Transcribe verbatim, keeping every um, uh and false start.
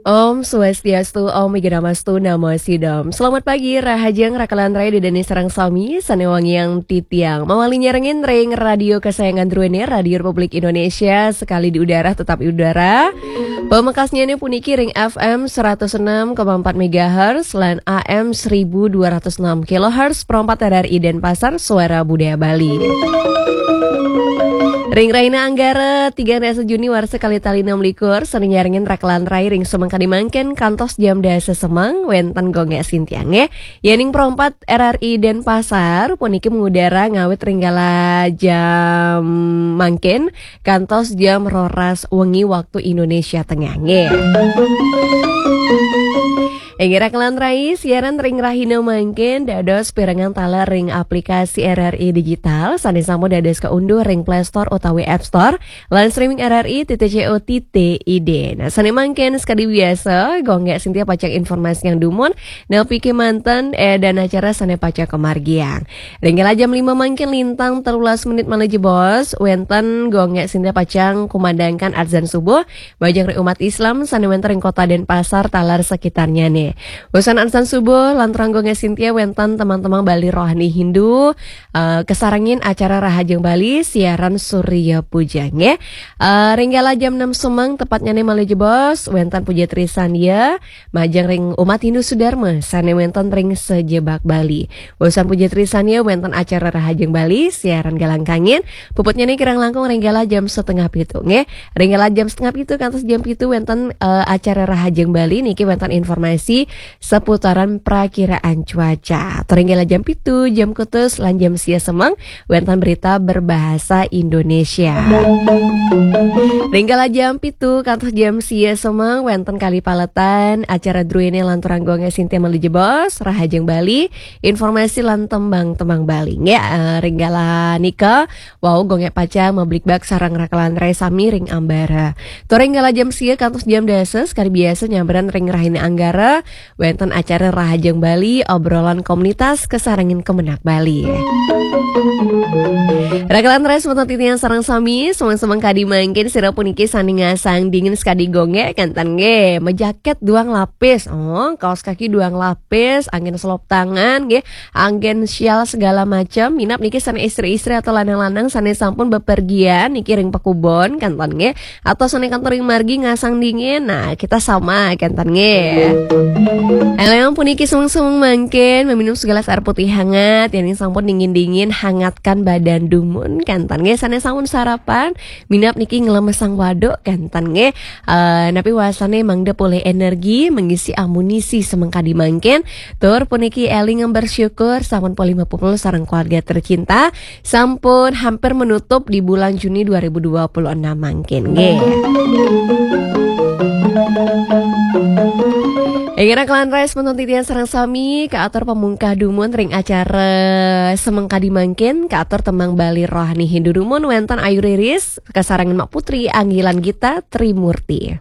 Om Swastiastu, Om Wignamastu, Namo Sidom. Selamat pagi, rahajeng rakalan rai didani sareng sami, sane wangiang titiang. Mawali nyarengin ring radio kesayangan druene, Radio Republik Indonesia, sekali di udara, tetap di udara. Pamekasnyane puniki ring F M seratus enam koma empat megahertz lan A M seribu dua ratus enam kilohertz, perempat R R I Denpasar, Suara Budaya Bali. Ring rahina Anggara, tiga dasa Juni warsa kalih tali enam likur, sane nyarengin rakalan rai ring semeng kadi mangkin kantos jam dasa semeng, wenten Gung Gek Sintia nggih. Yening perempat R R I Denpasar, puniki mengudara ngawit ring kala jam mangkin, kantos jam roras wengi waktu Indonesia Tengah nggih. Inggih rakalan rai, siaran ring rahina mangkin dados pirengang taler ring aplikasi R R I Digital, sane sampun dados kaunduh ring Play Store utawi App Store, lan streaming R R I titik co titik I D. Nah, sane mangkin sekadi biasa, Gung Gek Sintia pacang informasiang dumun, napi kemanten, eh, dan acara sane pacang kamargiang. Ring kala jam lima mangkin lintang telulas menit malih jebos, wenten Gung Gek Sintia pacang kumandangkan adzan subuh, majeng ring umat Islam sane wenten ring Kota Denpasar taler sekitarnyane. Wusan adzan subuh, lanturang Gung Gek Sintia wenten teman-teman Bali Rohani Hindu, eh, kasarengin acara Rahajeng Bali, siaran Surya Puja nggih. Eh, ring kala jam enam semeng tepatnyane malih jebos, wenten Puja Trisandya, majeng ring umat Hindu Sudarma sane wenten ring sajebag Bali. Wusan Puja Trisandya wenten acara Rahajeng Bali, siaran Galang Kangin, puputnyane kirang langkung ring kala jam setengah pitu nggih. Ring kala jam setengah pitu kantos jam pitu wenten, eh, acara Rahajeng Bali niki wenten informasi seputaran prakiraan cuaca. Ring kala jam pitu, jam kutus, lan jam sia semeng, wenten berita berbahasa Indonesia. Ring kala jam pitu kantos jam sia semeng, wenten kalih paletan acara druene lanturang Gung Gek Sintia malih jebos, Rahajeng Bali, informasi lan tembang-tembang Bali. Nggih, eh, ring kala nika, wau Gung Gek pacang mabligbagan sareng rakalan rai sami ring ambara. Tur ring kala jam sia kantos jam dasa, sekadi biasa nyamberan ring rahina Anggara, wenten acara Rahajeng Bali, obrolan komunitas kasarengin Kemenag Bali. Rakalan rai semeton titiang sareng sami, semeng-semeng kadi mangkin sira puniki sane ngasang dingin sekadi Gung Gek, kenten nggih, majaket duang lapis, oh, kaos kaki duang lapis, anggen selop tangan nggih, anggen sial segala macam, minab niki sane istri-istri atau lanang-lanang sane sampun bepergian niki ring pakubon, kenten nggih, atau sane kantos ring margi ngasang dingin. Nah, kita sama kenten nggih. Eleng puniki semeng-semeng mangkin meminum segelas air putih hangat, yening sampun dingin-dingin, hangatkan badan dumun, kenten nggih. Sane sampun sarapan, minab niki nglemesang waduk, kenten nggih. Eh, napi wasane mangda polih energi, mengisi amunisi semeng kadi mangkin. Tur puniki eling bersyukur sampun polih mapupul sareng keluarga tercinta. Sampun hampir menutup di bulan Juni dua ribu dua puluh enam mangkin nggih. Inggih rakalan rai semeton titiang sareng sami, kaatur pamungkah dumun ring acara semeng kadi mangkin, kaatur tembang Bali Rohani Hindu dumun wenten Ayu Riris, kasarengin Mak Putri, Anggilan Gita Trimurti.